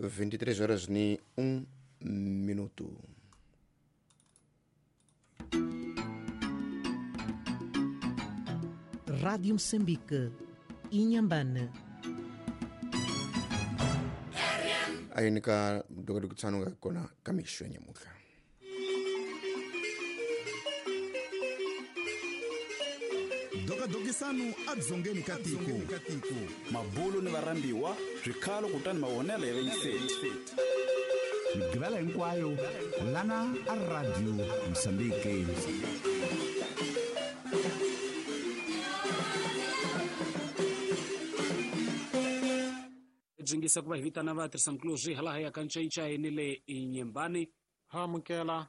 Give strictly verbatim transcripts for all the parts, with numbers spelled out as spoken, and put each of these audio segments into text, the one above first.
vinte e três horas e um minuto. Rádio Moçambique, Inhambane. Aí nika dokodokitsano kona kamishwe nyamuka. Dokadokisano adzongeni katiko. Mabulu ni varambiwa swikhalo kutani mavonelo ya vayiseti. Migivela hinkwayo lana a Radio Mozambique. Jingisa ku va hi vitana vatirhisankuluzi hala ya ka ncayincayi ni le Inhambane. Ha amukela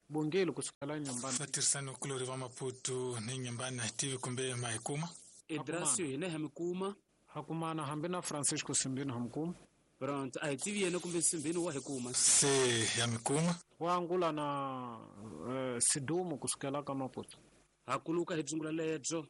bongeli kusukela Inhambane. Vatirhisanikulori va Maputo ni Inhambane a hi tivi kumbe ma hi kuma. Edrasio hina ha mi kuma. Ha kumana hambi na Francisco Simbini ha mi kuma. Pronto, a hi tivi yena kumbe Simbini wa hi kuma. Se ya mi kuma. Wa angula na uh, Sidumo kusukela ka Maputo. Ha kuluka hi dzungula lebyo.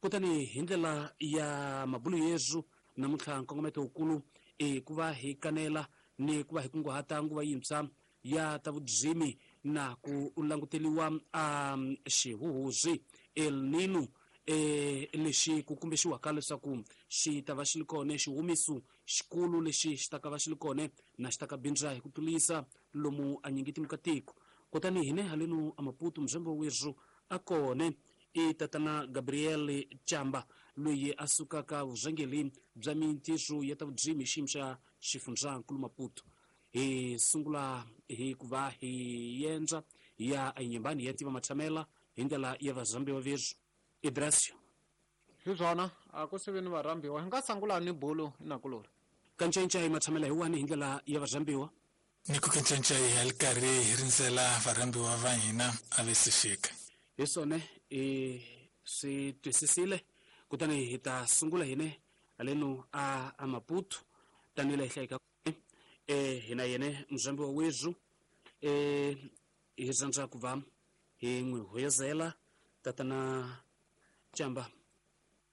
Kutani hi ndlela ya mabulu yezu namuntlha nkongometo wukulu i ku va hi kanela ni ku va hi kunguhata nguva yintshwa ya ta vudzimi na ku languteliwa a xihuhuzi El Nino e lexi ku kumbexiwaka leswaku xi ta va xi ri kona xihumiso xikulu lexi xi ta ka va xi ri kona na xi ta ka bindza hi ku tlulisa lomu a nyingiti mukatiko. Kutani hine halenu a Maputo mzembo wezu a kone i tatana Gabriel Chamba loyi a sukaka vurhangeri bya mintirho ya ta vudzimi xiyimo xa xifundzankulu Maputo. Hi sungula hi ku va hi endla ya Inhambane ya tiva matshamela hi ndlela ya vazambiwa vezu. Idrasio hi swona a ku siveni varhambiwa hi nga sangula ni bulu inakulori kancancai matshamela hi wani hi ndlela ya vazambiwa ni ku kancancai hi ri karhi hi rindzela varhambiwa va hina a ve se fika. Hi swona i swi twisisile. Kutani hi ta sungula hine halenu a a Maputo tanihila hi hlayika e hina yene muzambi wa wezu e hi rhandza ku va hi n'wi hoyozela tatana Chamba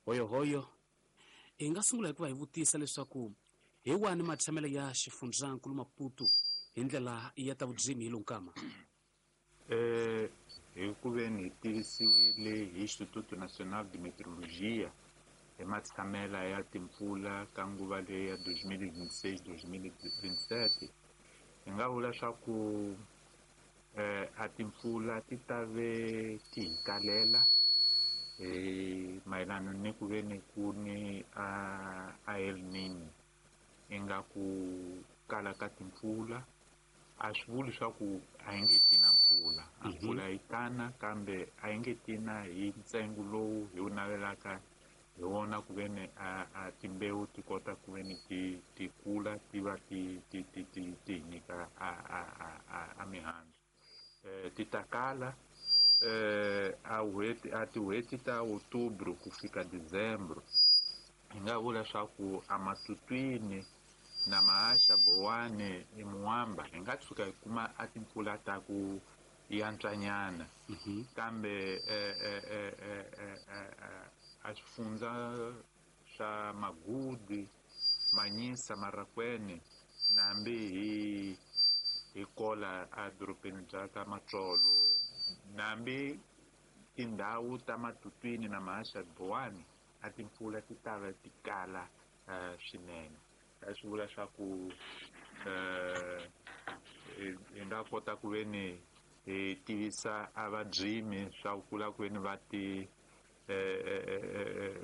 hoyohoyo. Hi nga sungula hi ku va hi vutisa leswaku hi wani matshamelo ya xifundzankulu Maputo hi ndlela ya ta vudzimi hi lonkama. Eh hi ku veni hi tivisiwile hi Instituto Nacional de Meteorologia hi matshamela ya timpfula ka nguva leyi ya dois mil e vinte e seis dois mil e vinte e sete hi nga vula swa ku eh a timpfula ti ta ve ti hi kalela eh mayelana ni ku veni ku ni a a El Nino ingaku kala ka timpfula. A swi vuli swa ku a yi nge ti na mpfula, a mpfula yi tana kambe a yi nge ti na hi ntsengo lowu hi wu navelaka hi wona ku veni a a timbewu ti kota ku veni ti ti kula ti va ti ti ti ti ti hi nyika a a a a mihandzu. Eh ti ta kala eh a n'hweti a tin'hweti ta Outubro ku fika Dezembro hi nga vula swa ku a Matutwini na Maasha Bowane i Muamba hi nga tshuka hi kuma a timpfula ta ku yantswanyana. Kambe eh eh eh eh a swifundza swa Magudi, Manyisa, Marakwene nambi hi hi kola a dorobeni bya ka Matsolo nambi tindhawu ta Matutwini na Maasha Bowane a timpfula ti ta va ti kala swinene. Swi vula swa ku eh hi nga kota ku veni hi tivisa a vadzimi swa ku kula ku veni va ti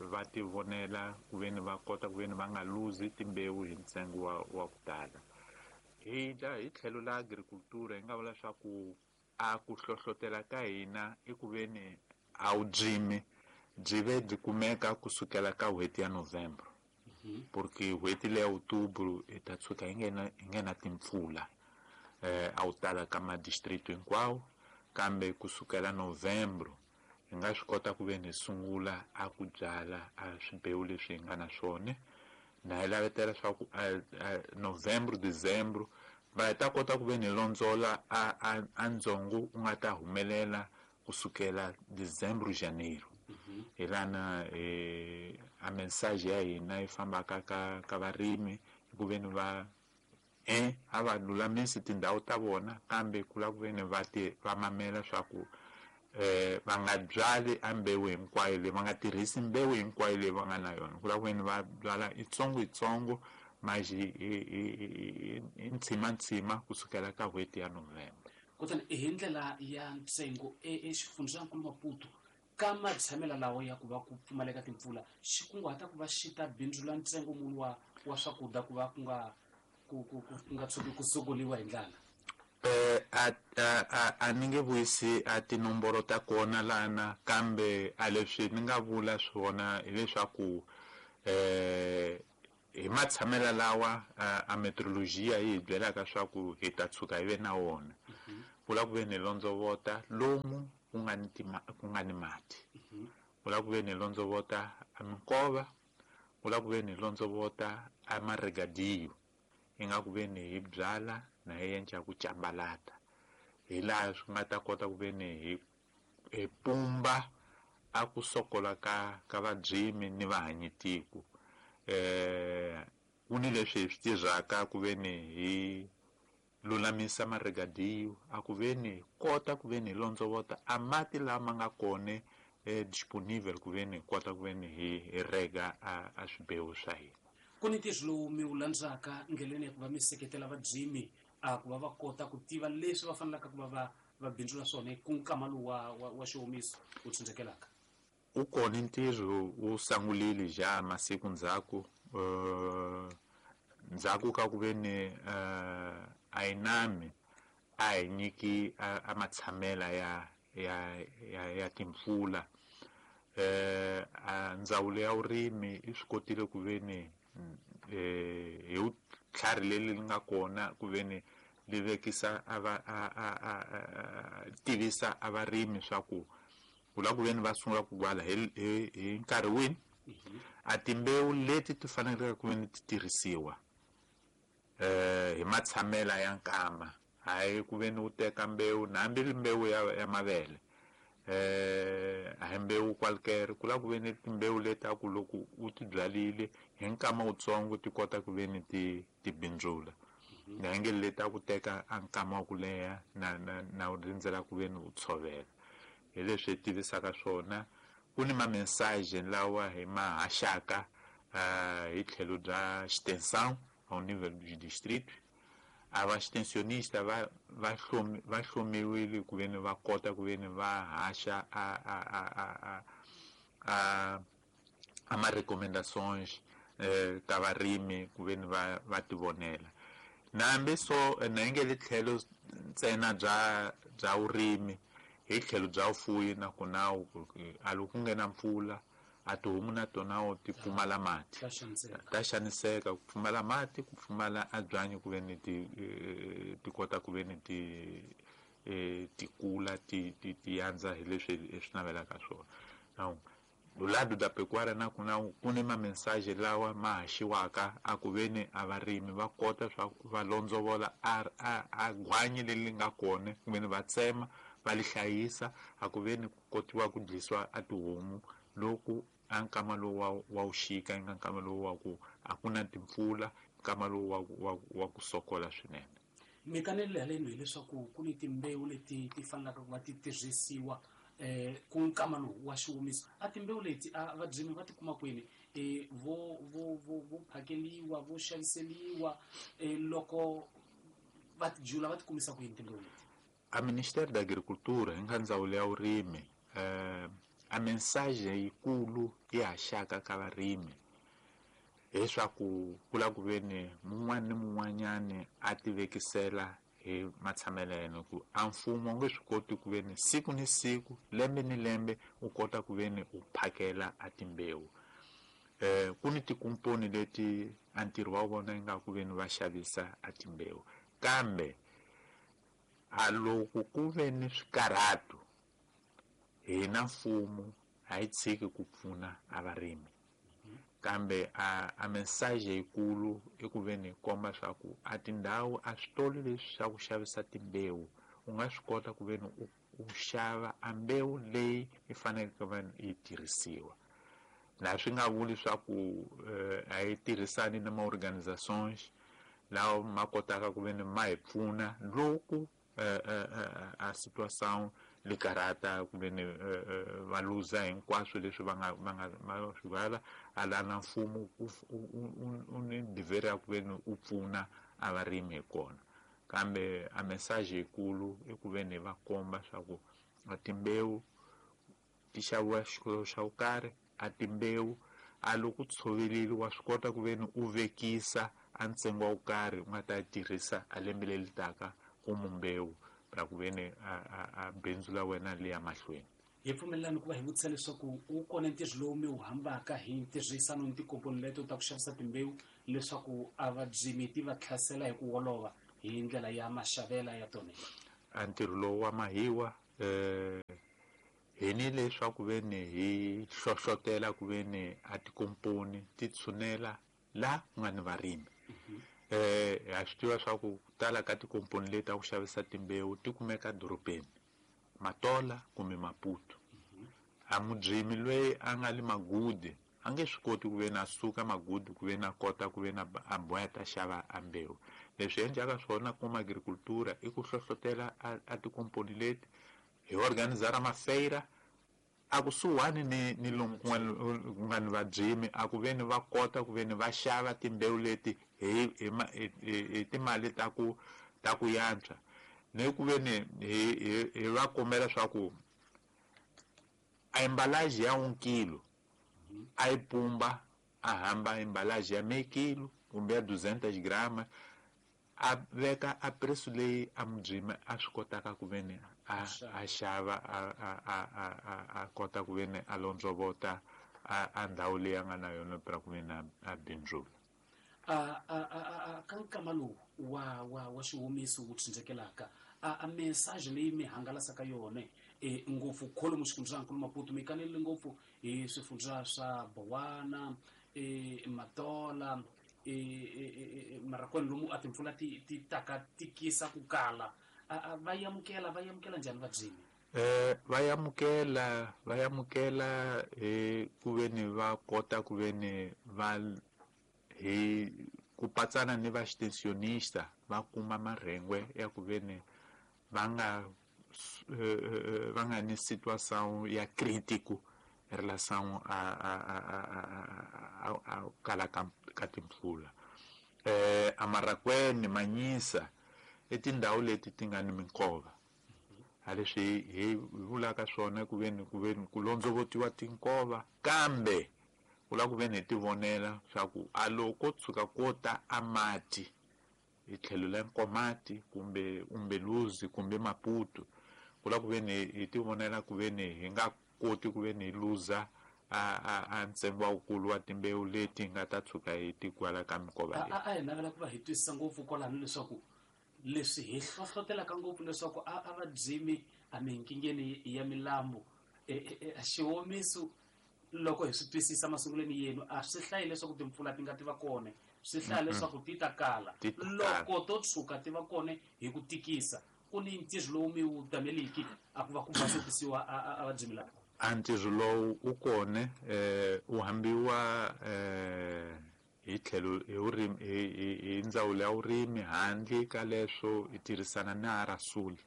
va ti vonela ku veni va kota ku veni va nga luzi timbewu hi ntsengo wa wa ku tala. Hi la hi tlhelo la agricultura hi nga vula swa ku a ku hlohlotela ka hina i ku veni a wu dzimi byi ve byi kumeka kusukela ka n'hweti ya November. Porque n'hweti leya Outubro hi ta tshuka hi nghena hi nghena timpfula eh a wu tala ka madistrict hinkwawo, kambe kusukela Novembro hi nga swi kota ku veni hi sungula a ku byala a swimbewu leswi hi nga na swona na hi lavetela swa ku Novembro Dezembro va ta kota ku veni hi londzola a a a ndzongo u nga ta humelela kusukela Dezembro Janeiro. Hi lana eh a mensagem ya hina yi fambaka ka ka varimi ku veni va Eh a va lulamisi tindhawu ta vona kambe ku lava ku veni va ti va mamela swa ku eh va nga byali a mbewu hinkwayo leyi va nga tirhisi mbewu hinkwayo leyi va nga na yona ku lava ku veni va byala itsongo itsongo maji hi ntshima ntshima kusukela ka n'hweti ya November. Kutani hi ndlela ya ntsengo exifundzankulu Maputo ka matshamela lawa ya ku va ku pfumaleka timpfula xi kunguhata ku va xi ta bindzula ntsengo muni wa wa swakudya ku va ku nga ku ku ku nga tshuki ku sokoliwa hi ndlala? Eh a a a ni nge vuyisi a tinomboro ta kona lana kambe a leswi ni nga vula swona hileswaku eh hi matshamela lawa a meteorologia yi hi byelaka swa ku hi ta tshuka hi ve na wona ku lava ku ve ni londzovota lomu ku nga ni ku nga ni mati ku lava ku ve ni londzovota a minkova ku lava ku ve ni londzovota a maregadiyo hi nga ku ve ni hi byala na hi endla ku cambalata hi laha swi nga ta kota ku ve ni hi hi pumba a ku sokola ka ka vabyimi ni vahanyitiko. Eh ku ni leswi hi swi tirhaka ku ve ni hi lulamisa maregadiyo a ku ve ni kota ku ve ni londzovota a mati lama nga kona eh disponible ku ve ni kota ku ve ni hi rega a a swibewu swa hina. Ku ni ntirho lowu mi wu landzaka ndleleni ya ku va mi seketela vabyimi a ku va va kota ku tiva leswi va fanelaka ku va va va bindzula swona ku nkama lowu wa wa xiwomiso wu tsundzukelaka? U kona ntirho wu sangulile ja masiku ndzhaku uh, ndzhaku ka ku ve ni uh, a yi nami a hi nyiki a matshamela ya ya ya ya timpfula eh a ndzawulo ya vurimi yi swi kotile ku ve ni eh hi vutlhari leri nga kona ku ve ni li vekisa a va a a a tivisa a varimi swa ku ku lava ku ve ni va sungula ku gwala hi hi nkarhi wini a timbewu leti ti faneleke ku ve ni ti tirhisiwa eh hi matshamela ya nkama hayi ku ve ni u teka mbewu na hambi ri mbewu ya ya mavele eh a hi mbewu kwalkere ku lava ku ve ni timbewu leti a ku loko u ti byalile hi nkama wutsongo ti kota ku ve ni ti ti bindzula na nge leti a ku teka a nkama wa ku leha na na na u rindzela ku ve ni u tshovela. Hi leswi hi tivisaka swona ku ni ma-message lawa hi ma haxaka hi tlhelo bya extension au nível du distrito a va extensionista va va hlomi va hlomiwile ku ve ni va kota ku ve ni va haxa a a a a a a ma recommendations eh ka varimi ku ve ni va va tivonela. Na hambi so na nge le tlhelo ntsena bya bya vurimi hi tlhelo bya vufuwi na kona a loko ku nghena mpfula a tihomu na tona ti pfumala mati ta xaniseka ku pfumala mati ku pfumala a byanyi ku ve ni ti ti kota ku ve ni ti ti kula ti ti ti yandza hi leswi hi swi navelaka swona. Now do lado da pecuária na kuna ku ni ma message lawa ma haxiwaka a ku ve ni a varimi va kota swa va londzovola a a a gwanyi leri nga kona ku ve ni va tsema va li hlayisa a ku ve ni ku kotiwa ku dlisiwa a tihomu loko a nkama lowu wa wa wuxika nga nkama lowu wa ku a ku na timpfula nkama lowu wa wa wa ku sokola swinene. Mi kanele haleni hileswaku ku ni timbewu leti ti fanelaka ku va ti tirhisiwa eh ku nkama lowu wa xiwomiso a timbewu leti a vabyimi va ti kuma kwini eh vo vo vo vo phakeliwa vo xaviseliwa eh loko va ti jula va ti kumisa ku yini timbewu leti? A Ministério da Agricultura hi nga ndzawulo ya vurimi eh a mensagem yikulu yi haxaka ka varimi leswaku ku lava ku ve ni mun'wana ni mun'wanyani a ti vekisela hi matshamelo ya yena ku a mfumo wu nge swi koti ku ve ni siku ni siku lembe ni lembe u kota ku ve ni u phakela a timbewu. Eh ku ni tikomponi leti a ntirho wa vona ingaku ku ve ni va xavisa a timbewu kambe a loko ku ve ni swikarhato hina mfumo a yi tshiki ku pfuna a varimi kambe a a message yikulu i ku ve ni komba swa ku a tindhawu a switolo leswi swa ku xavisa timbewu u nga swi kota ku ve ni u u xava a mbewu leyi yi faneleke ku va yi tirhisiwa. Na swi nga vuli swa ku a yi tirhisani na ma-organizations lawa ma kotaka ku veni ma hi pfuna loko a situação likarata ku veni va luza hinkwaswo leswi va nga va nga va swi vala a la na mfumo u ni dever ya ku veni u pfuna a varimi hi kona. Kambe a message yikulu i ku veni va komba swa ku a timbewu ti xaviwa xikolo xa ku karhi, a timbewu a loko tshovelile wa swi kota ku veni u vekisa a ntsengo wa ku karhi u nga ta tirhisa a lembe leri taka ku mbewu ra ku veni a a bindzu la wena li ya mahlweni. Hi pfumelelani ku va hi vutisa leswaku wu kona ntirho lowu mi wu hambaka hi ntirhisano ni tikomponi leto ta ku xavisa timbewu leswaku a vabyimi ti va tlhasela hi ku olova hi ndlela ya maxavela ya tona? A ntirho lowu wa mahiwa eh hi ni leswaku veni hi hlohlotela ku veni a tikomponi ti tshunela la ku nga ni varimi. Eh ha swi tiva swa ku tala ka tikomponi leti ta ku xavisa timbewu ti kumeka dorobeni, Matola kumbe Maputo. A mubyimi loyi a nga le Magudi a nge swi koti ku veni a suka Magudi ku veni a kota ku veni a boya ta xava a mbewu. Leswi endlaka swona kuma agricultura i ku hlohlotela a tikomponi leti hi organizara mafeira a kusuhani ni ni lomu ku nga ni vabyimi a ku veni va kota ku veni va xava timbewu leti hi hi hi timali ta ku ta ku yantswa, ni ku veni hi hi va kombela swa ku a embalage ya un kilo a yi pumba a hamba embalage ya meio kilo kumbe ya duzentas grama a veka a preço leyi a mubyimi a swi kotaka ku veni a a xava a a a a a kota ku veni a londzovota a a ndhawu leyi a nga na yona pra ku veni a bindzula. A a a ka nkama lowu wa wa wa xihumiso wu tsindzekelaka a a message leyi mi hangalasaka yona e ngopfu kholomu xifundzankulu Maputo mi kanelile ngopfu hi swifundza swa Bowana, e Matola, e Marakwani lomu a timpfula ti ti taka tikisa ku kala. Va yamukela va yamukela njhani vabyimi? Eh va yamukela va yamukela hi ku veni va kota ku veni va hi ku patsana ni va extensionista va kuma marhengwe ya ku veni va nga va nga ni situação ya crítico em relação a a a a a kala ka timpfula. Eh a Marakwani, Manyisa i tindhawu leti ti nga ni minkova. A leswi hi vulaka swona ku veni ku veni ku londzovotiwa tinkova, kambe ku lava ku veni hi ti vonela swa ku a loko tshuka ko ta a mati hi tlhelo la Nkomati kumbe Umbeluzi kumbe Maputo, ku lava ku veni hi ti vonela ku veni hi nga koti ku veni hi luza a a a ntsengo wukulu wa timbewu leti nga ta tshuka hi ti kwala ka minkova leyi. A a hi navela ku va hi twisisa ngopfu kwalano leswaku leswi hi hlohlotelaka ngopfu leswaku a a vabyimi a minkingeni ya milambu xiwomiso loko hi swi twisisa masungulweni yenu a swi hlayi leswaku timpfula ti nga ti va kona, swi hlaya leswaku ti ta kala. Loko to tshuka ti va kona hi ku tikisa ku ni ntirho lowu mi wu tameliki a ku va ku basokisiwa a vabyimi lava. A ntirho lowu wu kona eh wu hambiwa eh hi tlhelo hi vurimi hi hi ndzawulo ya vurimi handle ka leswo hi tirhisana na Arasuli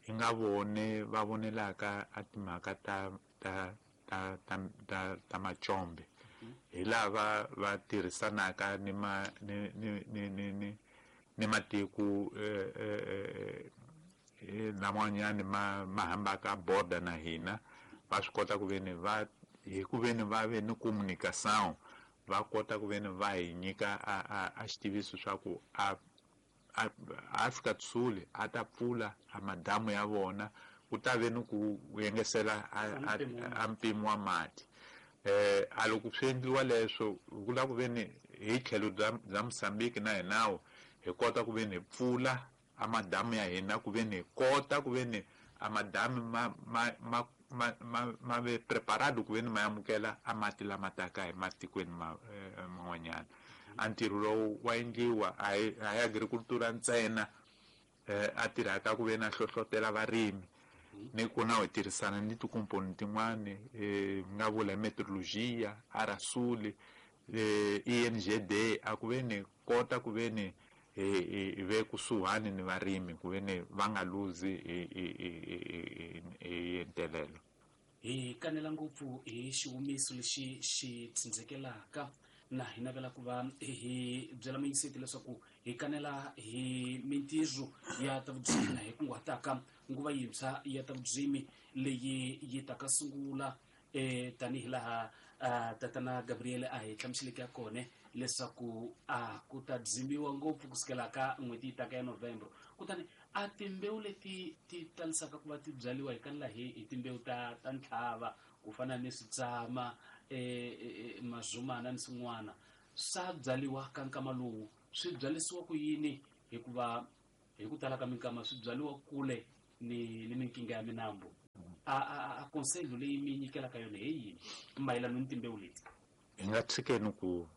hi nga vone va vonelaka a timhaka ta ta ta ta ta ta macombe hi lava va tirhisanaka ni ma ni ni ni ni ni ni matiko eh eh laman'wanyani ma ma hambaka border na hina va swi kota ku veni va hi ku veni va ve ni communication va kota ku veni va hi nyika a a a xitiviso swa ku a a Afrika Dzonga a ta pfula a madamu ya vona ku ta ve ni ku yengesela a mpimo wa mati. Eh a loko swi endliwa leswo ku lava ku veni hi tlhelo bya bya Mozambique na hinawo hi kota ku veni hi pfula a madamu ya hina ku veni hi kota ku veni a madamu ma ma ma ma ma ma ve preparado ku veni ma amukela a mati lama taka hi matikweni ma man'wanyana. A ntirho lowu wa endliwa a hi a hi agricultura ntsena eh a tirhaka ku veni a hlohlotela varimi ni ku na hi tirhisana ni tikomponi tin'wani eh nga vula meteorologia Arasuli eh, I N G D a ku ve ni kota ku ve ni hi ve kusuhani ni varimi ku ve ni va nga luzi hi hi ntelelo. Hi kanela ngopfu hi xihumiso lexi xi tsindzekelaka na hi navela ku va hi byela muyingiseti leswaku hi kanela hi mintirho ya ta vudzimi na hi kunguhataka nguva yintshwa ya ta vudzimi leyi yi taka sungula eh tanihi laha tatana Gabriel a hi hlamuseleke ya kona leswaku a ku ta dzimiwa ngopfu kusukela ka n'hweti yi taka ya November. Kutani a timbewu leti ti talisaka ku va ti byaliwa hi kanela hi hi timbewu ta ta ntlhava ku fana ni switsama eh mazumana ni swin'wana swa byaliwa ka nkama lowu swi byalisiwa ku yini hikuva hi ku tala ka minkama swi byaliwa kule ni ni minkinga ya minambu. A a a conseil leyi mi nyikelaka yona hi yini mayelana ni timbewu leti? Hi nga tshikeni ku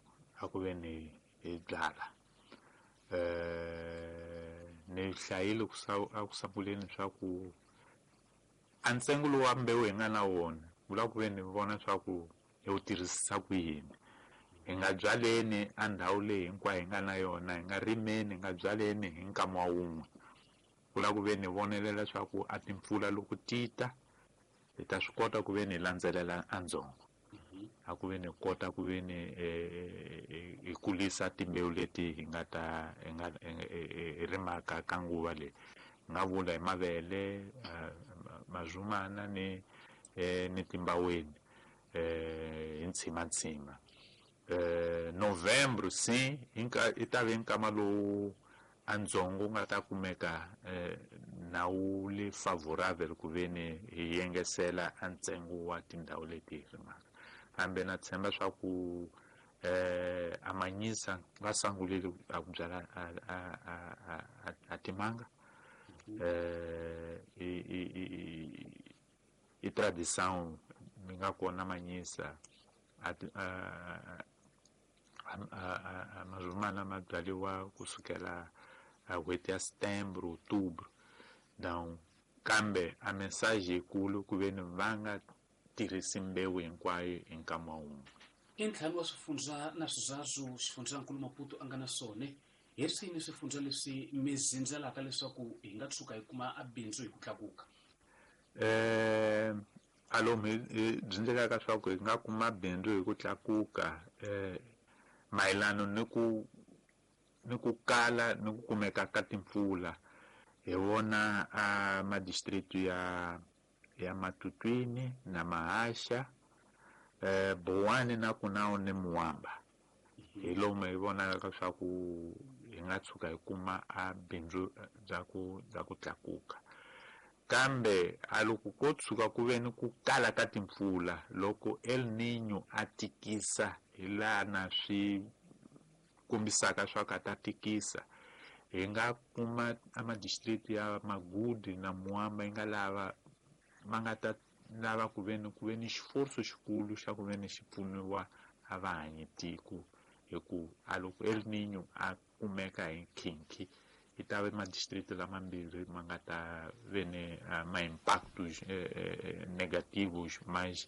a ku ve ni hi byala eh ni hlayile ku a ku sunguleni swa ku a ntsengo lowu wa mbewu hi nga na wona vula ku ve ni vona swa ku hi wu tirhisisa ku yini. Hi nga byaleni a ndhawu leyi hinkwayo hi nga na yona, hi nga rimeni, hi nga byaleni hi nkama wa wun'we. Vula ku ve ni vonelela swa ku a timpfula loko ti ta hi ta swi kota ku ve ni landzelela a ndzongo a ku ve ni kota ku ve ni hi kulisa timbewu leti hi nga ta hi nga hi rimaka ka nguva leyi. Hi nga vula hi mavele, mazumana ni ni timbaweni hi ntshimantsima. November si i ta ve nkama lowu a ndzongo wu nga ta kumeka na wu le favorable ku ve ni hi yengesela a ntsengo wa tindhawu leti hi rimaka. Kambe na tshemba swa ku eh a manyisa va sangulile a ku byala a a a a timanga eh i i i tradição mi nga kona manyisa a a mazumana ma byaliwa kusukela a n'hweti ya setembro, outubro. Donc kambe a mensagem yikulu ku ve ni va nga tirhisi mbewu hinkwayo hi nkama wun'we. I ntlhanu wa swifundza na swizazu xifundzankulu Maputo a nga na swona. Hi swini swifundza leswi mi zindzelaka leswaku hi nga tshuka hi kuma a bindzu hi ku tlakuka? Eh a lomu hi byindzelaka swa ku hi nga kuma bindzu hi ku tlakuka eh mayelana ni ku ni ku kala ni ku kumeka ka timpfula. Hi vona a madistrict ya ya Matutwini na Mahasha, eh Bowane na Kunao ni Muamba. Hi lomu hi vonaka swa ku hi nga tshuka hi kuma a bindzu bya ku bya ku tlakuka. Kambe a loko ko tshuka ku ve ni ku kala ka timpfula loko El Niño a tikisa hi laha na swi kombisaka swa ku a ta tikisa, hi nga kuma a madistrict ya Magudi na Muamba yi nga lava ma nga ta lava ku ve ni ku ve ni xiforso xikulu xa ku ve ni xi pfuniwa a va hanyi tiko hi ku a loko El Niño a kumeka hi nkhinkhi yi ta ve madistrict lamambirhi ma nga ta ve ni ma impactos negativos mais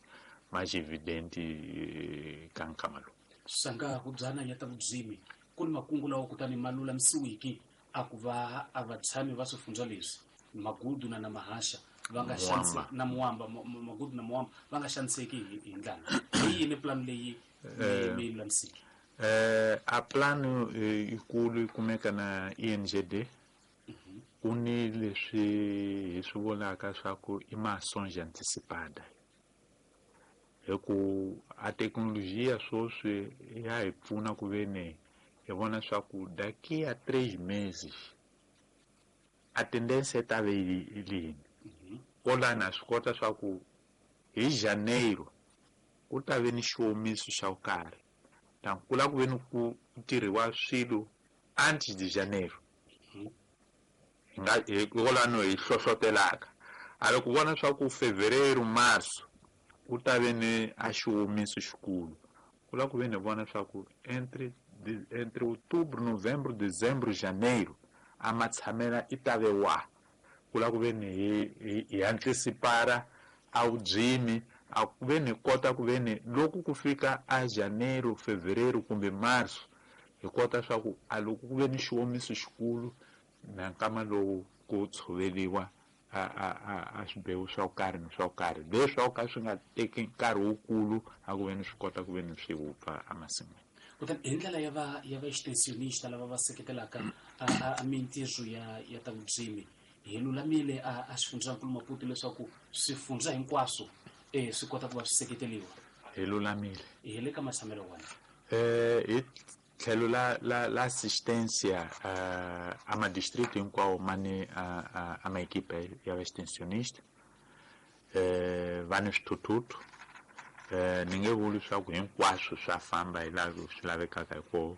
mais evidente ka nkama lowu. Sanga ku byana ya ta vudzimi ku ni makungu lawa kutani ma lulamisiwiki a ku va a vatshami va swifundza leswi Magudu na na Mahasha va nga xanise na Muamba Magudu na Muamba va nga xaniseki hi ndlala. Hi yini plan leyi mi lulamisiki? Eh a plano yikulu yi kumeka na I N G D. Ku ni leswi hi swi vulaka swa ku i mações antecipada. Hi ku a thekinolojiya sweswi ya hi pfuna ku ve ni hi vona swa ku daqui a três meses a tendência ta ve yini. Kolana swi kota swa ku hi janeiro ku ta ve ni xiwomiso xa ku karhi. Donc ku lava ku ve ni ku tirhiwa swilo antes de janeiro. Hi nga hi kolano hi hlohlotelaka. A loko vona swa ku fevereiro, março ku ta ve ni a xiwomiso xikulu. Ku lava ku ve ni vona swa ku entre entre outubro, novembro, dezembro, janeiro a matshamela i ta ve wa. Ku lava ku ve ni hi hi antecipara a vudzimi A ku ve ni kota ku ve ni loko ku fika a janeiro, fevereiro kumbe marso, hi kota swa ku a loko ku ve ni xiwomiso xikulu na nkama lowu ku tshoveriwa a a a a swibewu swa ku karhi ni swa ku karhi leswi ka swi nga teki nkarhi wukulu a ku ve ni swi kota ku ve ni swi wupfa emasin'wini. Kutani hi ndlela ya va ya va extensionista lava va seketelaka a a mintirho ya ya ta vurimi, hi lulamile a a xifundzankulu Maputo leswaku swifundza hinkwaswo eh swi kota ku va swi seketeriwa? Hi lulamile. Hi le ka matshamelo wona. Eh hi tlhelo la la la assistência uh, a ma distrito hinkwawo ma ni a a ma equipe ya extensionista, eh va ni swithuthuthu. Eh ni nge vuli swa ku hinkwaswo swa famba hi laha swi lavekaka hi kona,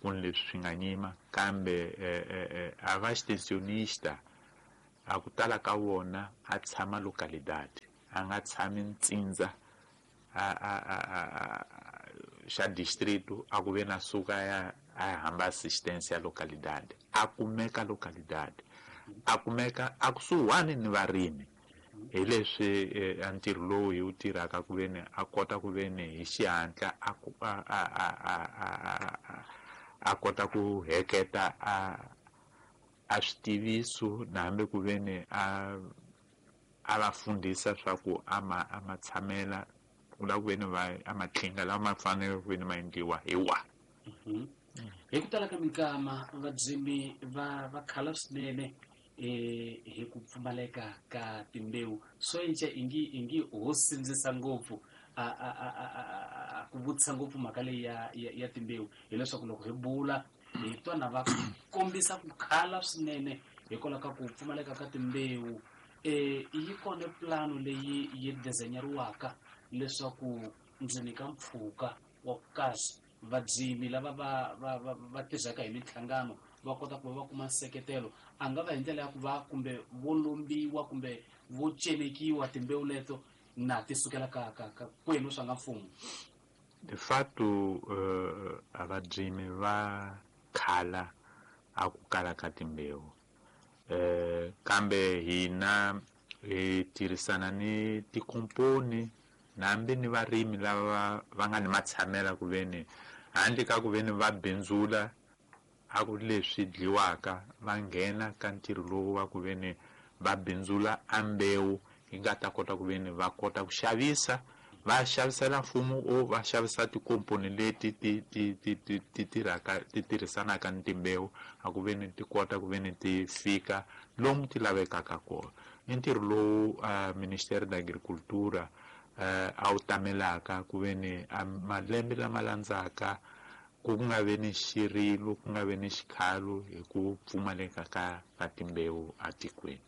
ku ni leswi swi nga nyima, kambe eh a va extensionista a ku tala ka vona a tshama localidade, a nga tshami ntsindza a a a xa distrito, a ku ve na suka ya a hamba assistência ya localidade, a kumeka localidade, a kumeka a kusuhani ni varimi. Hi leswi a ntirho lowu hi wu tirhaka ku ve ni a kota ku ve ni hi xihatla a a a a a kota ku heketa a a switiviso na hambi ku ve ni a a va fundisa swa ku a ma a ma tshamela ku lava ku ve ni va a matlinga lawa ma fanele ku ve ni ma endliwa hi wa. Hi ku tala ka minkama vadzimi va va khala swinene eh hi ku pfumaleka ka timbewu. Swo enca ingi ingi ho sindzisa ngopfu a a a ku vutisa ngopfu mhaka leyi ya ya timbewu, hileswaku loko hi bula hi twa na va kombisa ku khala swinene hikwalaho ka ku pfumaleka ka timbewu. Eh yi kona plano leyi yi design-eriwaka leswaku ndzeni ka mpfhuka wa ku kahle vadzimi lava va va va tirhaka hi minhlangano va kota ku va va kuma nseketelo, a nga va hi ndlela ya ku va kumbe vo lombiwa kumbe vo celekiwa timbewu leto na ti sukela ka ka ka kwenu swa nga mfumo? De fato uh, a vadzimi va khala a ku kala ka timbewu, eh kambe hina hi tirhisana ni tikomponi nambi ni varimi lava va nga ni matshamela ku ve ni handle ka ku ve ni va bindzula a ku leswi dliwaka, va nghena ka ntirho lowu wa ku ve ni va bindzula a mbewu yi nga ta kota ku ve ni va kota ku xavisa, va xavisela mfumo o va xavisa tikomponi leti ti ti ti ti ti tirhaka ti tirhisanaka ni timbewu a ku ve ni ti kota ku ve ni ti fika lomu ti lavekaka kona. I ntirho lowu uh, Ministério da Agricultura uh, a wu tamelaka ku ve ni malembe lama landzaka ku nga ve ni xirilo, ku nga ve ni xikhalo hi ku pfumaleka ka ka timbewu atikweni.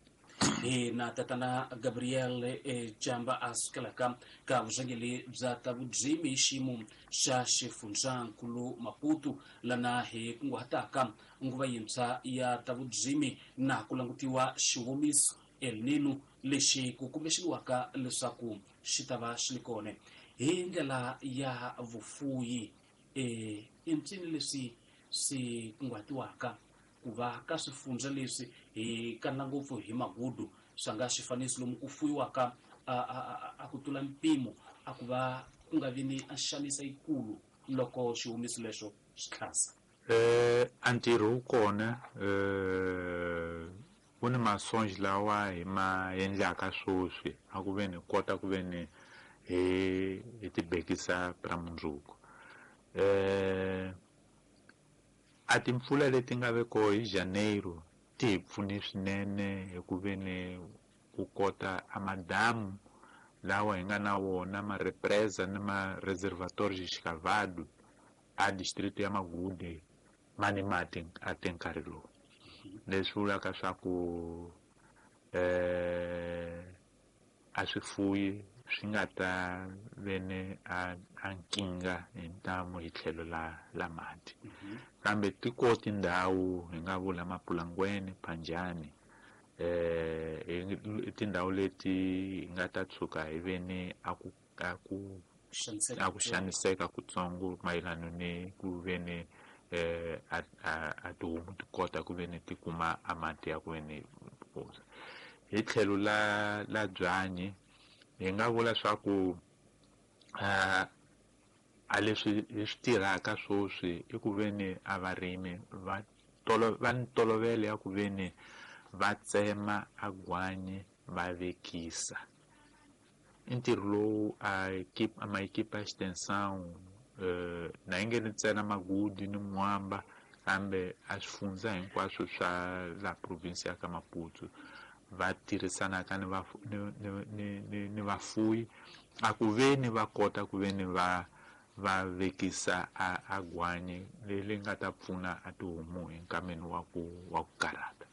Hi na tatana Gabriel eh, Jamba a sukelaka ka vurhangeri bya ta vurimi hi xiyimo xa xifundzankulu Maputo, lana hi kunguhataka nguva yintshwa ya ta vurimi na ku langutiwa xiwomiso El Nino lexi ku kumbexeriwaka leswaku xi ta va xi ri kona hi ndlela ya vufuyi. Eh i ncini leswi swi kunguhatiwaka ku va ka swifundza leswi hi kanela ngopfu hi magudu swa nga xifaniso lomu ku fuyiwaka a a a ku tlula mpimo a ku va ku nga vi ni a xanisa yikulu loko xihumiso lexo xi tlhasa? Eh a ntirho wu kona, eh ku ni masonji lawa hi ma endlaka sweswi a ku ve ni kota ku ve ni hi hi tibekisa ra mundzuku. Eh a timpfula leti nga ve kona hi Janeiro ti hi pfune swinene hi ku ve ni ku kota a madamu lawa hi nga na wona ma represa ni ma reservatório escavado a distrito ya Magude ma ni mati a te nkarhi lowu, leswi vulaka swa ku eh a swifuyi swi nga ta ve ni a a nkingha hi ntamu hi tlhelo la la mati. Kambe tiko tindhawu hi nga vula Mapulangweni, Phanjani, eh tindhawu leti hi nga ta tshuka hi ve ni a ku a ku a ku xaniseka kutsongo mayelana ni ku ve ni eh a a tihomu ti kota ku ve ni ti kuma a mati ya ku ve ni hi tlhelo la la byanyi. Hi nga vula swa ku uh, a leswi hi swi tirhaka sweswi i ku veni a varimi va tolo va ni ntolovelo ya ku veni va tsema a gwanyi va vekisa. I ntirho lowu a equipe ma equipe ya extensão uh, na yi nge ni ntsena Magudi ni Mwamba kambe a swifundza hinkwaswo swa la province ya ka Maputo va tirhisanaka ni va ni ni ni ni vafuwi a ku veni va kota ku veni va va vekisa a a gwanyi leri nga ta pfuna a tihomu hi nkameni wa ku wa ku karhata.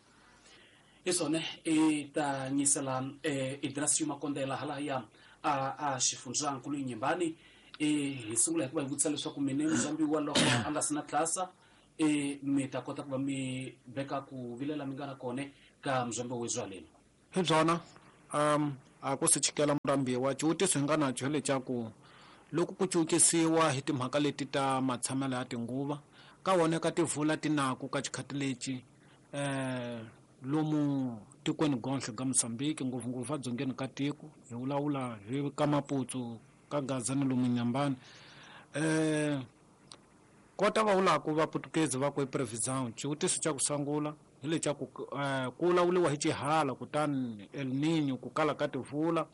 Isone i ta nyisela eh, Idrasio Makondela halaya a a xifundzankulu Inhambane e hi sungula hi ku va hi vutisa leswaku mine muzambiwa loko a nga sina tlasa e mi ta kota ku va mi veka ku vilela mi nga na kone ka muzambi wa zwaleni. Hi byona um a ku si chikela murambiwa xivutiso hi nga na xo lexa ku loko ku cukisiwa hi timhaka leti ta matshamelo ya tinguva ka wona ka tivula tinaku ka xikhati lexi eh lomu tikweni gonhle ka Mozambique ngopfungopfu adzongeni ka tiko hi vulavula hi ka Maputo ka Gaza ni lomu Inhambane eh kota va vulaka va Portuguese va ku previsão xivutiso xa ku sungula hi lexa ku ku vulavuriwa hi xihala kutani El Niño ku kala ka tivula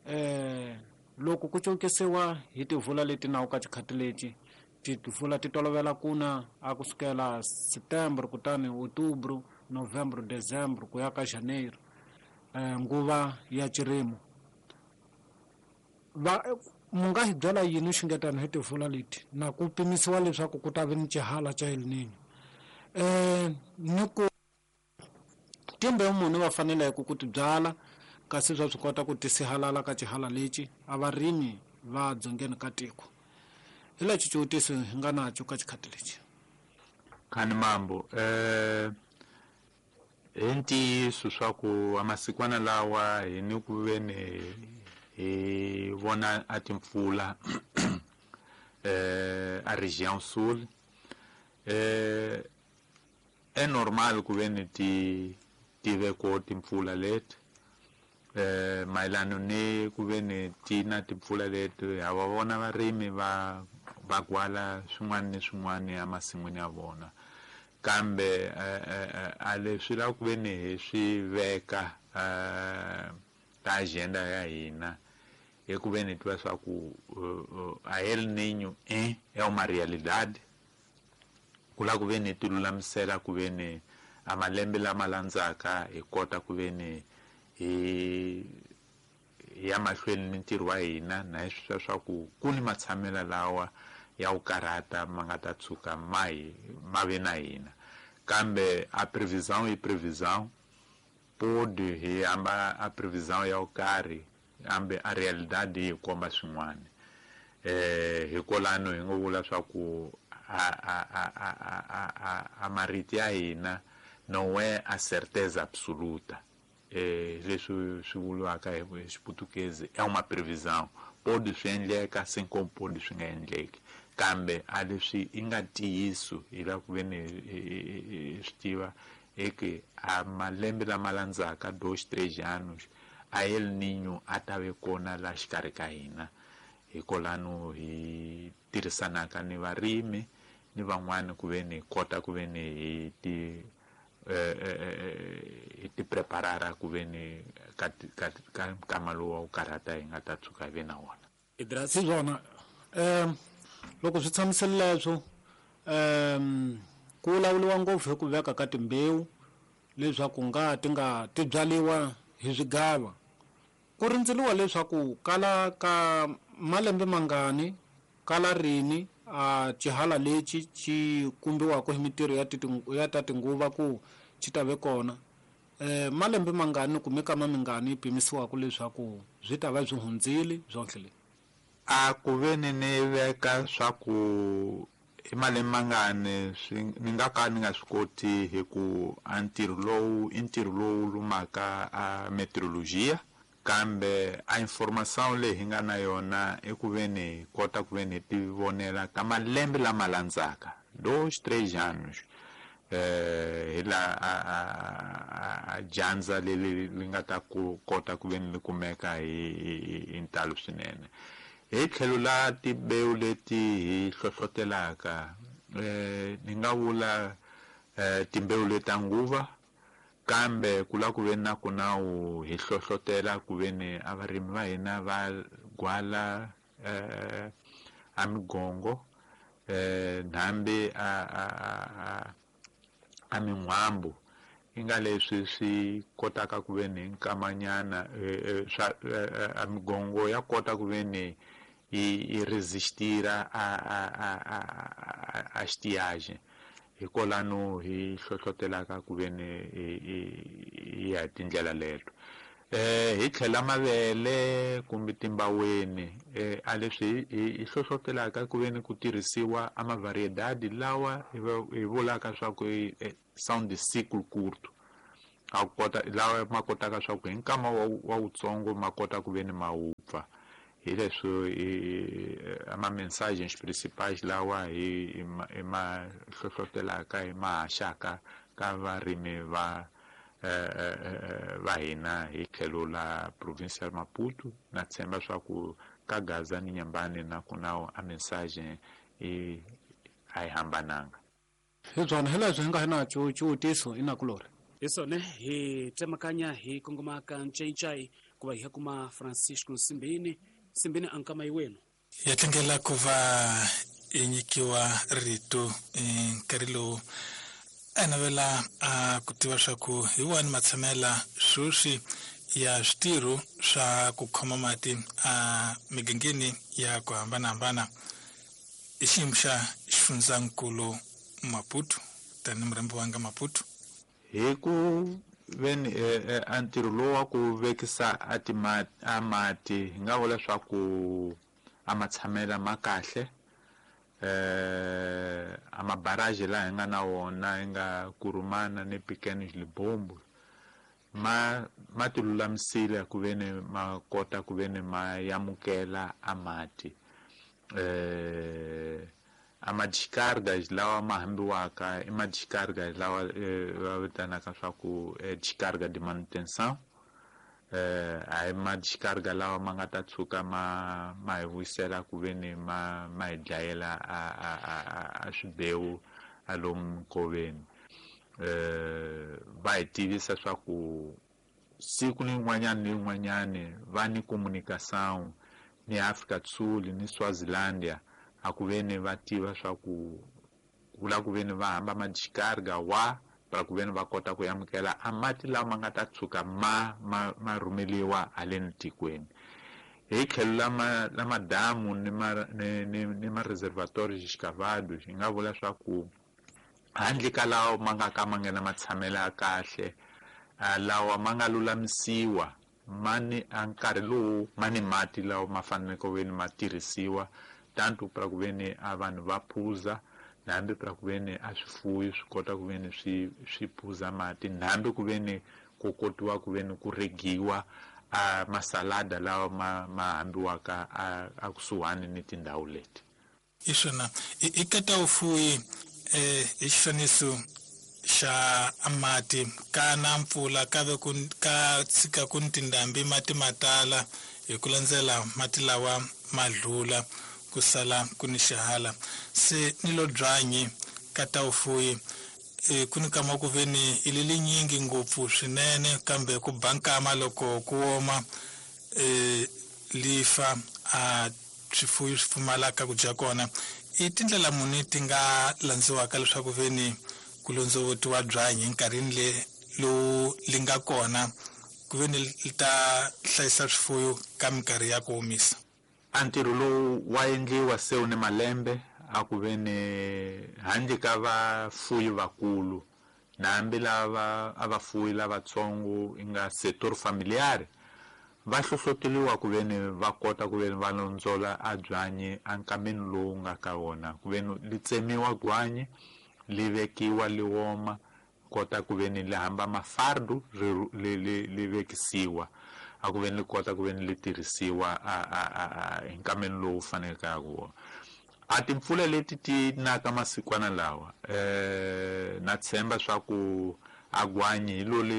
eh loko ku cukisiwa hi tivula leti nawu ka xikhati lexi tivula ti tolovela kuna a kusukela September kutani Outubro Novembro Dezembro ku ya ka Janeiro eh nguva ya xirimo va mu nga hi byela yini xingetana hi tivula leti na ku pimisiwa leswaku ku ta va ni xihala xa El Niño eh ni ku timbewu munhu va faneleke ku ti byala kasi swa swi kota ku tisihalala ka xihala lexi a varimi va dzongeni ka tiko. Hi lexi xivutiso hi nga nacho ka xikhati lexi. Khani mambo eh hi ntiyiso swa ku amasikwana lawa hi ni ku veni hi vona a timpfula eh a região sul eh é normal ku veni ti tive ko timpfula leti eh mayelana ni ku veni ti na timpfula leti ha va vona varimi va va gwala swin'wana ni swin'wana emasin'wini ya vona kambe a leswi la ku veni hi swi veka ka agenda ya hina hi ku veni tiva swa ku a El Niño é é uma realidade ku la ku veni ti lulamisela ku veni a malembe lama landzaka hi kota ku veni hi ya mahlweni ni ntirho wa hina na hi swi swa ku ku ni matshamela lawa ya ku karhata ma nga ta tshuka ma hi ma ve na hina kambe a previsão i previsão pode hi hamba a previsão ya ku karhi kambe a realidade yi komba swin'wana eh hikwalano hi ngo vula swa ku a a a a a a a marito ya hina não é a certeza absoluta. Eh leswi swi vuriwaka hi xiputukezi é uma previsão pode swi endleka assim como pode swi nga endleki kambe a leswi i nga ntiyiso hi la ku veni hi swi tiva é que a malembe lama landzaka dois três anos a El Niño a ta ve kona la xikarhi ka hina hikwalano hi tirhisanaka ni varimi ni van'wani ku veni hi kota ku veni hi ti hi ti preparara ku veni ka ka ka nkama lowu wa ku karhata hi nga ta tshuka hi ve na wona. Hi swona um loko swi tshamisile leswo um ku vulavuriwa ngopfu hi ku veka ka timbewu leswaku nga ti nga ti byaliwa hi swigava ku rindzeliwa leswaku kala ka malembe mangani kala rini a xihala lexi xi kumbiwaka hi mintirho ya ya ta tinguva ku xi ta ve kona eh malembe mangani kumbe kama mingani yi pimisiwaka leswaku byi ta va byi hundzile byonhle le a ku veni ni veka swa ku i malembe mangani swi ni nga ka ni nga swi koti hi ku a ntirho lowu i ntirho lowu lumaka a meteorologia kambe a informação leyi hi nga na yona i ku veni hi kota ku veni hi ti vonela ka malembe lama landzaka dois três anos eh hi la a a a dyandza leri li nga ta ku kota ku veni li kumeka hi hi ntalo swinene Hi tlhelo la timbewu leti hi hlohlotelaka eh ni nga vula eh timbewu leta nguva, kambe ku la ku ve na ku na wu hi hlohlotela ku ve ni a varimi va hina va gwala eh a migongo eh nhambi a a a a min'wambu i nga leswi swi kotaka ku ve ni nkamanyana swa a migongo ya kota ku ve ni yi resistira a a a a a estiagem. Hikwalano hi hlohlotelaka ku ve ni hi ya tindlela leto. Eh hi tlhela mavele kumbe timbaweni eh a leswi hi hlohlotelaka ku ve ni ku tirhisiwa a mavariedade lawa hi vulaka swa ku são de ciclo curto, a kota lawa ma kotaka swa ku hi nkama wa wutsongo ma kota ku ve ni ma wupfa. Hi leswi ama mensagens principais lawa hi hi ma hlohlotelaka hi ma haxaka ka varimi va va hina hi tlhelo la província ya Maputo. Na tshemba swa ku ka Gaza ni Nyambani na ku na a mensagem i a yi hambananga. Hi byona hi leswi hi nga hi na xivutiso inakulori. Hi swona hi tsemakanya hi kongoma ka Ncayincayi ku va hi ya kuma Francisco Nsimbini. Nsimbini a nkama yiwenu. Ya tlangela ku va i nyikiwa rito nkarhi lowu a navela a ku tiva swa ku hi wani matshamela sweswi ya switirho swa ku khoma mati a migangeni ya ku hambanahambana i xiyimo xa xifundzankulu Maputo tani murhambi wanga Maputo. Hi ku veni a ntirho lowu wa ku vekisa a timati a mati hi nga vula swa ku a matshamela ma kahle. Eh a mabarrage laha hi nga na wona hi nga Kurumana ni Pequenos Libombo ma ma ti lulamisile ku ve ni ma kota ku ve ni ma yamukela a mati. Eh a ma descargas lawa ma hambiwaka i ma descargas lawa va vitanaka swa ku descarga de manutenção. Eh a hi ma descarga lawa ma nga ta tshuka ma ma hi vuyisela ku ve ni ma ma hi dlayela a a a a swibewu a lomu nkoveni. Eh va hi tivisa swa ku siku ni rin'wanyana ni rin'wanyana va ni comunicação ni Afrika do Sul ni Swazilandia a ku ve ni va tiva swa ku vula ku ve ni va hamba ma descarga wa para ku ve ni va kota ku amukela a mati lawa ma nga ta tshuka ma ma ma rhumeliwa haleni tikweni. Hi tlhelo la ma la madamu ni ma ni ni, ni ma reservatórios escavados hi nga vula swa ku handle ka lawa ma nga ka ma nga na matshamelo ya kahle, lawa ma nga lulamisiwa ma ni a nkarhi lowu ma ni mati lawa ma faneleke ku ve ni ma tirhisiwa tanto para ku ve ni a vanhu va phuza, hambi para ku ve ni a swifuwo swi kota ku ve ni swi swi phuza mati, hambi ku ve ni ku kotiwa ku ve ni ku regiwa a masalada lawa ma ma hambiwaka a a kusuhani ni tindhawu leti. I swona i ka ta vufuwi eh i xifaniso xa mati ka na mpfula ka ve ku ka tshika ku ni tindhambi mati ma tala hi ku landzela mati lawa ma dlula ku sala ku ni xihala se ni lo byanyi ka ta vufuwi e ku ni kama ku ve ni i lili nyingi ngopfu swinene kambe ku ba nkama loko ku oma e lifa a swifuwo swi pfumalaka ku dya kona. I tindlela muni ti nga landziwaka leswaku ve ni ku londzovotiwa byanyi enkarhini le lowu li nga kona ku ve ni li ta hlayisa swifuwo ka minkarhi ya ku omisa? A ntirho lowu wa endliwa se wu ni malembe a ku ve ni handle ka vafuyi vakulu na hambi lava a vafuyi lavatsongo i nga setor familiar va hlohloteliwa ku ve ni va kota ku ve ni va londzola a byanyi a nkameni lowu nga ka wona ku ve ni li tsemiwa gwanyi li vekiwa li oma kota ku ve ni li hamba mafardu li li li vekisiwa a ku ve ni li kota ku ve ni li tirhisiwa a a a hi nkameni lowu faneleke ku wona. A timpfula leti ti naka masikwana lawa eh na tshemba swa ku A gwanyi hi lo li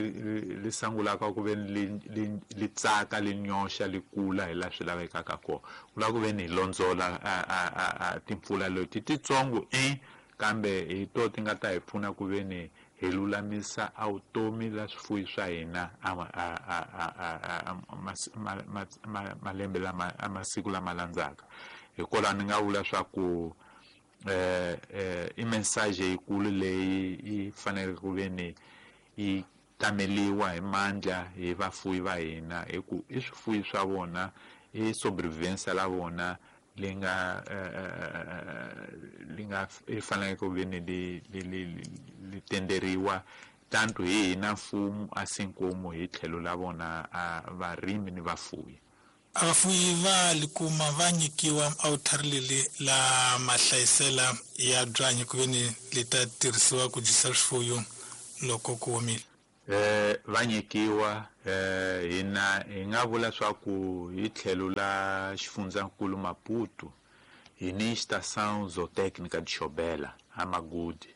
li sangulaka ku ve li li li tsaka li nyoxa li kula hi la swi lavekaka kona. Ku lava ku ve ni hi londzola a a a timpfula leti titsongo e kambe hi to ti nga ta hi pfuna ku ve ni hi lulamisa a vutomi la swifuyi swa hina a a a a malembe lama a masiku lama landzaka. Hikwalaho ni nga vula swa ku eh eh i message yikulu leyi yi faneleke ku ve ni yi tameliwa hi mandla hi vafuwi va hina, hi ku i swifuyi swa vona, i sobrevivência la vona leyi nga li nga i faneleke ku ve ni li li li li tenderiwa tanto hi hina mfumo assim como hi tlhelo la vona a varimi ni vafuwi. Vafuwi va likuma va nyikiwa a leli la mahlayisela ya byanyi ku ve ni li ta tirhisiwa ku dyisa swifuyo loko ku omile. Eh va nyikiwa eh hina hi nga vula swa ku hi tlhelo la xifundzankulu Maputo hi ni estação zootécnica de Xobela a Magudi.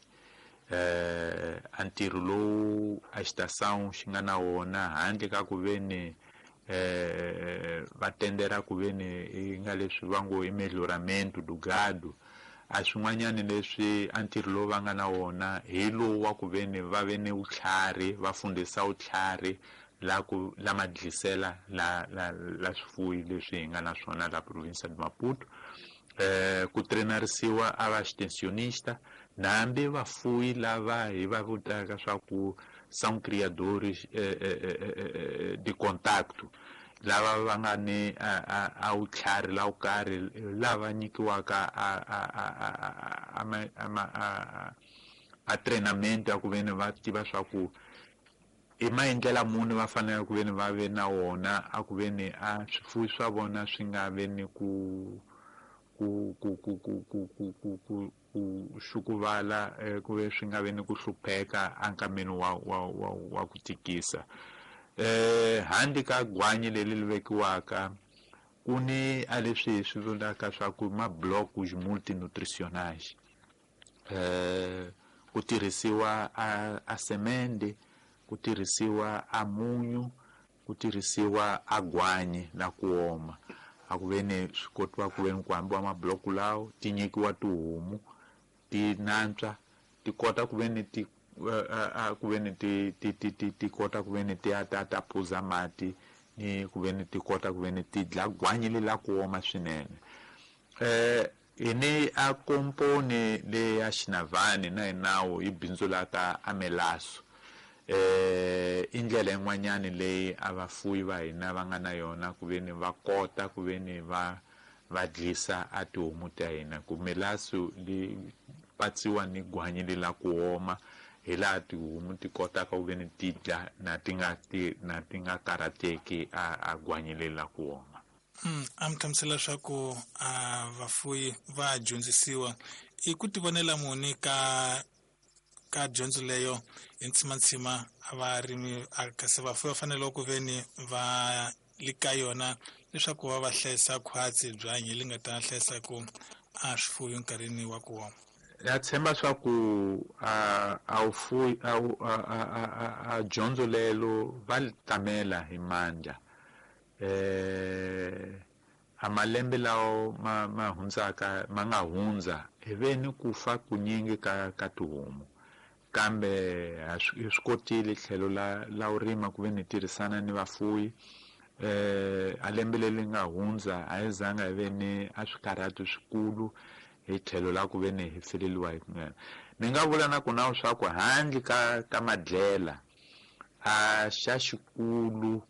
Eh a ntirho lowu a estação xi nga na wona handle ka ku ve ni eh va tendera ku ve ni i nga leswi va ngo i melhoramento do gado, a swin'wanyani leswi a ntirho lowu va nga na wona hi lowu wa ku ve ni va ve ni vutlhari, va fundisa vutlhari la ku la madlisela la la la swifuyi leswi hi nga na swona la provinsia de Maputo. Eh ku treinarisiwa a va extensionista nambi vafuwi lava hi va vutaka swa ku são criadores eh, eh, eh, de contacto, lava va nga ni a a vutlhari la vukarhi lava nyikiwaka a a a a a a treinamento ya ku ve ni va tiva swa ku i maendlela muni va fanele ku ve ni va ve na wona a ku ve ni a swifuwi swa vona swi nga ve ni ku ku ku ku ku ku ku ku ku ku xukuvala ku ve swi nga ve ni ku hlupheka enkameni wa wa wa wa ku tikisa. Eh handle ka gwanyi leri li vekiwaka ku ni a leswi hi swi vulaka swa ku ma blocos multinutricionais, eh ku tirhisiwa a a semende, ku tirhisiwa a munyu, ku tirhisiwa a gwanyi la ku oma. A ku ve ni swi kotiwa ku ve ni ku hambiwa mabloku lawo ti nyikiwa tihomu ti nantswa ti kota ku ve ni ti a ku ve ni ti ti ti ti ti kota ku ve ni ti ya ta ta phuza mati ni ku ve ni ti kota ku ve ni ti dla gwanyi le la ku oma swinene. Eh hi ni a komponi le ya Xinavani na hi nawu yi bindzulaka a melaso. Eh i ndlela yin'wanyani leyi a vafuwi va hina va nga na yona ku ve ni va kota ku ve ni va va dlisa a tihomu ta hina, ku melaso li patsiwa ni gwanyi le la ku oma hi laha tihomu ti kotaka ku ve ni ti dla na ti nga ti na ti nga karhateki a a gwanyi le la ku oma. Mm, a mi hlamusela leswaku a vafuwi va dyondzisiwa i ku tivonela muni ka ka dyondzo leyo hi ntsimantsima a varimi kasi vafuwi va fanele ku ve ni va li ka yona leswaku va va hlayisa khwatsi byanyi li nga ta hlayisa ku a swifuwo nkarhini wa ku oma. Ya tshemba swa ku a a wufuwi a a a dyondzo lelo va li tamela hi mandla. Eh a malembe lawo ma ma hundzaka ma nga hundza hi ve ni ku fa kunyingi ka ka tihomu, kambe hi swi kotile tlhelo la la u rima ku ve ni tirhisana ni vafuwi. Eh a lembe leri nga hundza a hi zanga hi ve ni a swikarhato swikulu hi tlhelo la ku ve ni hi feleliwa hi kunene. Ni nga vula na ku na swa ku handle ka ka madlela a xa xikulu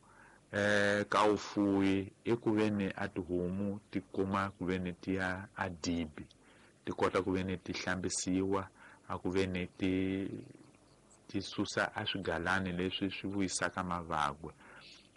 eh ka vufuwi i ku ve ni a tihomu ti kuma ku ve ni ti ya a dibi ti kota ku ve ni ti hlambisiwa, a ku ve ni ti ti susa a swigalani leswi swi vuyisaka mavabyi.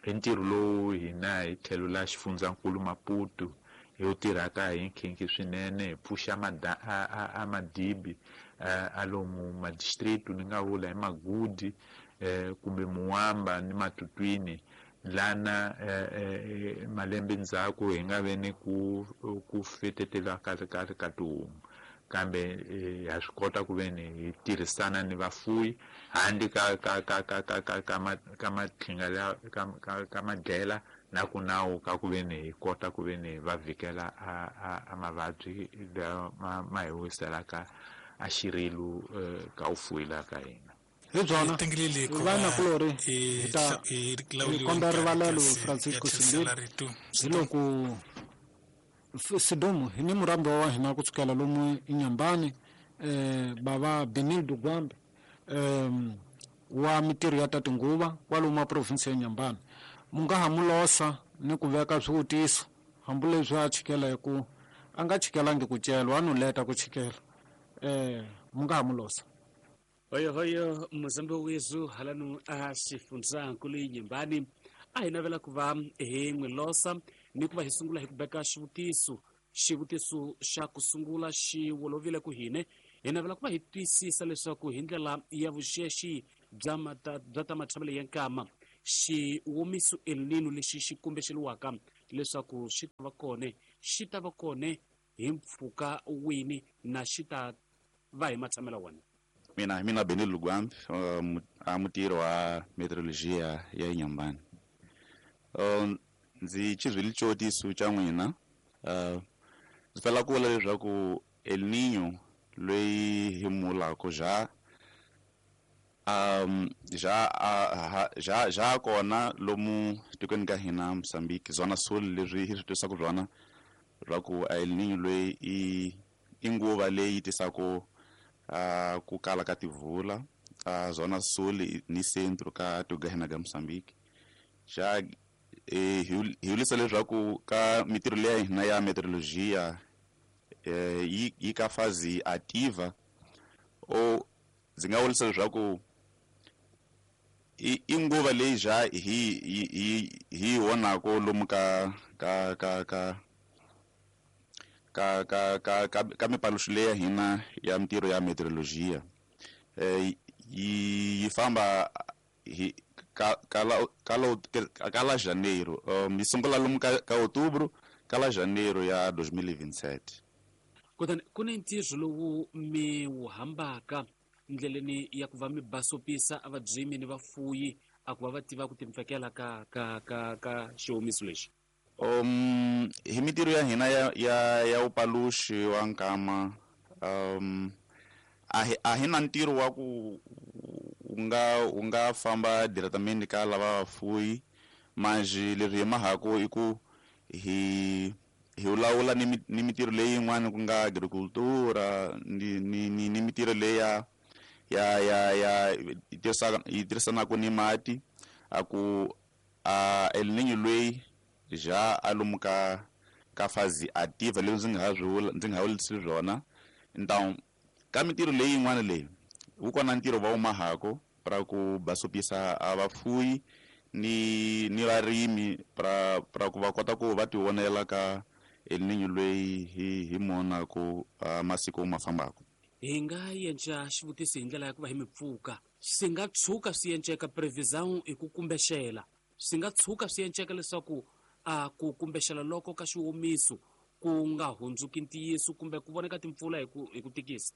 I ntirho lowu hina hi tlhelo la xifundzankulu Maputo hi wu tirhaka hi nkhinkhi swinene, hi pfuxa a madibi a lomu madistrict ni nga vula hi Magudi eh kumbe Muwamba ni Matutwini lana eh, malembe ndzhaku hi nga ve ni ku ku fetetela kahle kahle ka tihomu. Kambe ha swi kota ku ve ni hi tirhisana ni vafuwi handle ka ka ka ka ka ka ka ma ka matlhinga la ka ka ka madlela na ku nawu ka ku ve ni hi kota ku ve ni va vhikela a a a mavabyi ma ma hi wiselaka a xirilu ka u fuwila ka hina. Hi byona vana kulori hi ta hi komba rivalelo Francisco Simbili hi loko Sidumo hi ni murambi wa hina ku tsukela lomu Inhambane eh bava Benildo Gwambe eh wa mitirho ya tatinguva kwalomu a province ya Inhambane. Mu nga ha mu losa ni ku veka swivutiso hambileswi a chikela hi ku a nga chikelangi ku celwa a no leta ku chikela eh mu nga ha mu losa. Hoyo hoyo muzambi wezu halanu a xifundzankulu Inhambane a hi navela ku va hi n'wi losa ni ku va hi sungula hi ku beka xivutiso. Xivutiso xa ku sungula xi wolovile ku hine hi navela ku va hi twisisa leswaku hi ndlela ya vuxexi bya mata bya ta matshamelo ya nkama xiwomiso El Nino lexi xi kumbexeliwaka leswaku xi ta va kone xi ta va kone hi mpfhuka wini na xi ta va hi matshamelo wona. Mina mina Benildo Gwambe a mutirhi wa meteorologia ya Inhambane. Um ndzi xizwile xivutiso xa n'wina uh ndzi fela ku vula leswaku El Nino loyi hi mulako ja um ja ja ja kona lomu tikweni ka hina Mozambique zona sul leswi hi swi twisaka byona ra ku El Nino loyi i i nguva leyi tisaka uh ku kala ka tivula uh zona sul ni centro ka tiko ka hina ka Mozambique ja eh hi vulisa leswaku ka mitirho leyi hina ya meteorologia eh yi yi ka fazi ativa o ndzi nga vulisa leswaku i nguva leyi ja hi hi hi vonako lomu ka ka ka ka ka ka ka ka ka mipaluxo leyi ya hina ya mitirho ya meteorologia eh yi yi famba hi ka kala kala kala janeiro um yi sungula lomu ka ka outubro kala janeiro ya dois mil e vinte e sete. Kutani ku ni ntirho lowu mi wu hambaka ndleleni ya ku va mi basopisa a vabyimi ni vafuyi a ku va va tiva ku timpfekela ka ka ka ka xiwomiso lexi. Um hi mitirho ya hina ya ya ya upaluxi wa nkama um a hi a hi na ntirho wa ku u nga u nga famba diretamente ka lava vafuyi mas leswi hi mahako i ku hi hi lawula ni ni mitirho leyi yin'wana ku nga agricultura ni ni ni, ni mitirho leyi ya ya ya ya yi tirhisanaka ni mati a ku a El Nino loyi ja a lomu ka ka fazi ativa leswi ndzi nga ha swi vula ndzi nga ha vulisi swona. Então ka mitirho leyi yin'wana leyi wu kona ntirho va wu mahako pra ku basopisa a vafuyi ni ni varimi pra pra ku va kota ku va ti vonela ka El Nino loyi hi hi monako masiku ma fambaka. Hi nga yenca xivutiso hi ndlela ya ku va hi mi pfuka swi nga tshuka swi yenceka previsão hi ku kumbexela swi nga tshuka swi yenceka leswaku a ku kumbexela loko ka xiwomiso ku nga hundzuki ntiyiso kumbe ku voneka timpfula hi ku hi ku tikisa.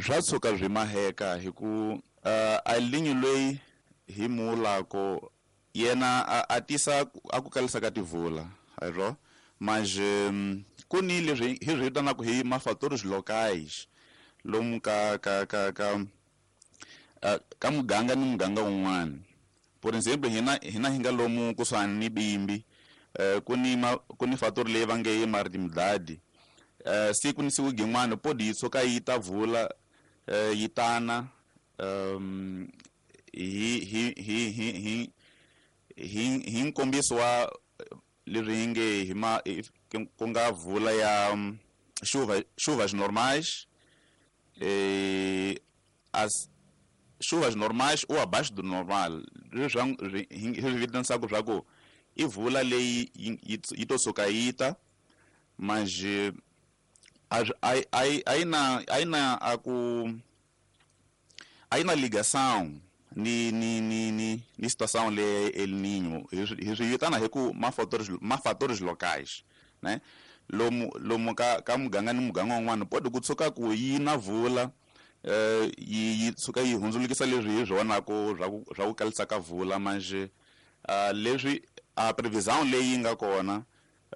Swa tshuka swi maheka hi ku El Nino loyi hi mulako yena a tisa a ku kalisa ka tivula ayro mas ku ni leswi hi swi vitanaka hi ma-fatores locais lomu ka ka ka ka ka muganga ni muganga wun'wana. Por exemplo hina hina hi nga lomu kusuhani ni Bimbi ku ni ma ku ni fator leyi va nge i maritimidadi eh siku ni siku gin'wana podi yi tshuka yi ta vula yi tana um hi hi hi hi hi hi hi nkombiso wa leswi hi nge hi ma ku nga vula ya chuva chuvas normais eh as chuvas normais ou abaixo do normal leswi hi swi vitanisaka swa ku i vula leyi yi to suka yi ta mas a yi na a yi na a ku a yi na ligação ni ni ni ni ni situação le El Niño. Hi swi vitana hi ku ma fatores ma fatores locais, né? lomu lomu ka ka muganga ni muganga wun'wana podi ku tshuka ku yi na vula eh yi yi tshuka yi hundzulukisa leswi hi swi vonako swa ku swa ku kalisa ka vula manje uh, leswi a previsão leyi nga kona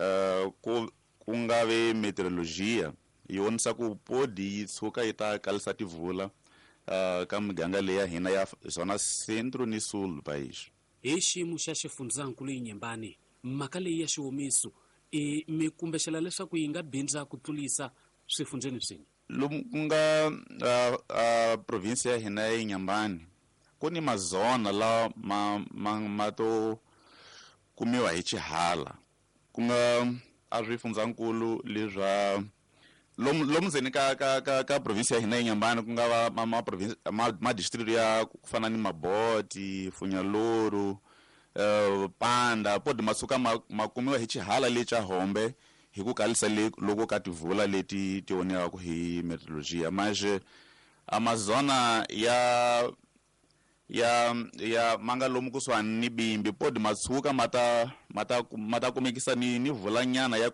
uh, ku ku nga ve meteorologia yi vonisa ku podi yi tshuka yi ta kalisa tivula uh, ka miganga leyi ya hina ya zona centro ni sul do país. Hi xiyimo xa xifundzankulu Inhambane mhaka leyi ya xiwomiso i mi kumbexela leswaku yi nga bindza ku tlulisa swifundzeni swin'we? Lomu ku nga uh, uh, provinsi ya hina ya Inhambane ku ni mazona lawa ma, ma, ma to kumiwa hi xihala ku nga a swifundzankulu leswa lomu lomu ndzeni ka ka ka ka provinsi ya hina ya Inhambane ku nga va ma ma province ma, ma district ya ku fana ni Maboti, Funyaluru, uh, Panda podi matsuka ma, ma kumiwa hi xihala le xa Hombe hi ku kalisa le loko ka tivula leti ti voniwaka hi meteorologia manje Amazona ya ya ya manga lomu kusuhani ni Bimbi podi matsuka mata mata mata kumekisa ni ni vulanyana ya